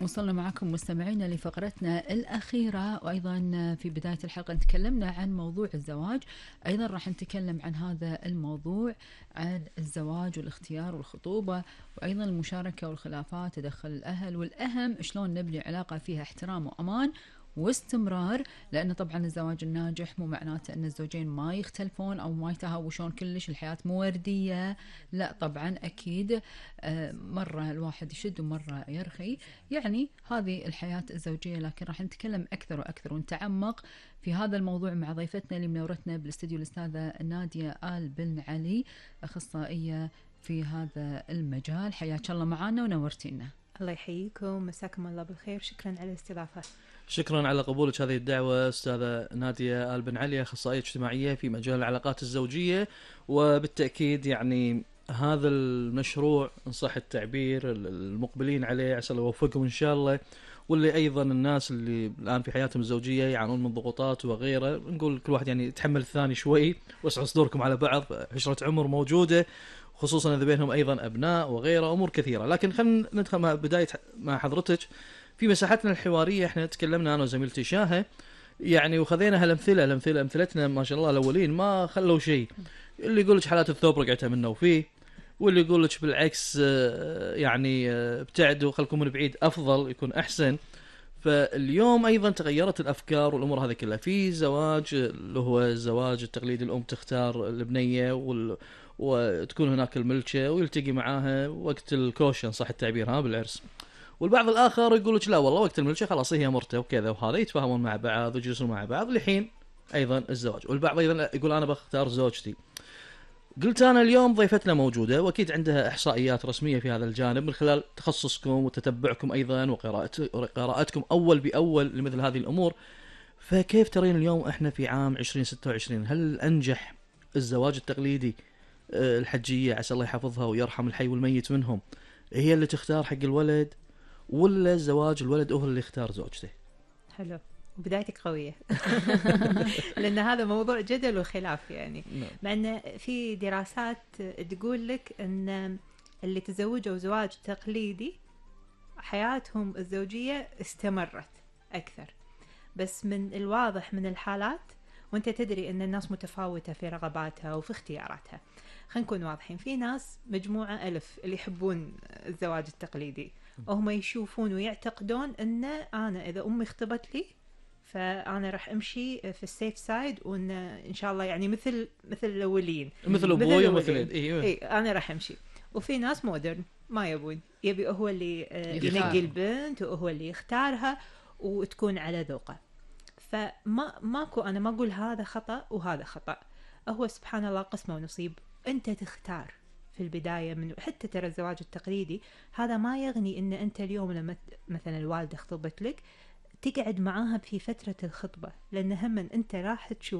وصلنا معكم مستمعينا لفقرتنا الأخيرة، وأيضا في بداية الحلقة تكلمنا عن موضوع الزواج. أيضا راح نتكلم عن هذا الموضوع، عن الزواج والاختيار والخطوبة، وأيضا المشاركة والخلافات، تدخل الأهل، والأهم شلون نبني علاقة فيها احترام وأمان واستمرار. لأن طبعا الزواج الناجح مو معناته أن الزوجين ما يختلفون أو ما يتهاوشون كلش، الحياة مو وردية، لا طبعا أكيد. مرة الواحد يشد ومرة يرخي، يعني هذه الحياة الزوجية. لكن راح نتكلم أكثر وأكثر ونتعمق في هذا الموضوع مع ضيفتنا اللي منورتنا بالاستديو، الأستاذة نادية آل بن علي، أخصائية في هذا المجال. حياك الله معنا ونورتينا. الله يحييكم، مساكم الله بالخير، شكرا على الاستضافة. شكرا على قبولك هذه الدعوة أستاذة نادية آل بن علي، أخصائية اجتماعية في مجال العلاقات الزوجية. وبالتأكيد يعني هذا المشروع إن صح التعبير المقبلين عليه عسى الله يوفقهم إن شاء الله، واللي أيضا الناس اللي الآن في حياتهم الزوجية يعانون من ضغوطات وغيره، نقول كل واحد يعني يتحمل الثاني شوي، واسعوا صدوركم على بعض، عشرة عمر موجودة، خصوصا إذا بينهم أيضا أبناء وغيره أمور كثيرة. لكن خلينا ندخل مع بداية مع حضرتك في مساحتنا الحوارية. احنا تكلمنا أنا وزميلتي شاهة يعني، وخذينا أمثلتنا ما شاء الله الأولين ما خلوا شيء. اللي يقول لك حالات الثوب رقعتها منه وفيه، واللي يقول لك بالعكس يعني ابتعدوا خلكم من بعيد أفضل يكون أحسن. فاليوم أيضا تغيرت الأفكار والأمور هذه كلها. في زواج اللي هو الزواج التقليدي، الأم تختار البنية وتكون هناك الملكة ويلتقي معاها وقت الكوشن صح التعبير ها بالعرس. والبعض الآخر يقول لك لا والله وقت الملكة خلاص هي مرته وكذا وهذا، يتفاهمون مع بعض ويجلسون مع بعض لحين أيضا الزواج. والبعض أيضا يقول أنا بختار زوجتي. قلت أنا اليوم ضيفتنا موجودة وأكيد عندها إحصائيات رسمية في هذا الجانب من خلال تخصصكم وتتبعكم أيضا وقراءتكم أول بأول لمثل هذه الأمور. فكيف ترين اليوم إحنا في عام 2026 هل أنجح الزواج التقليدي الحجية عسى الله يحفظها ويرحم الحي والميت منهم هي اللي تختار حق الولد، ولا الزواج الولد هو اللي يختار زوجته؟ حلو، بدايتك قوية. لأن هذا موضوع جدل وخلاف يعني. مع أن في دراسات تقول لك أن اللي تزوجوا زواج تقليدي حياتهم الزوجية استمرت أكثر. بس من الواضح من الحالات، وانت تدري أن الناس متفاوتة في رغباتها وفي اختياراتها، خلينا نكون واضحين. في ناس مجموعة ألف اللي يحبون الزواج التقليدي، وهم يشوفون ويعتقدون أن أنا إذا أمي اختبت لي فأنا راح أمشي في السيف سايد، وإن إن شاء الله يعني مثل الأولين، مثل أبوي ومثل إيه أنا راح أمشي. وفي ناس مودرن ما يبون، يبي هو اللي ينقي البنت وهو اللي يختارها وتكون على ذوقه. ماكو، أنا ما أقول هذا خطأ وهذا خطأ، هو سبحان الله قسمة ونصيب. أنت تختار في البداية من حتى ترى الزواج التقليدي هذا ما يغني إن أنت اليوم لما مثلا الوالدة خطبت لك تقعد معاها في فترة الخطبة، لأن هم أنت راح تشوف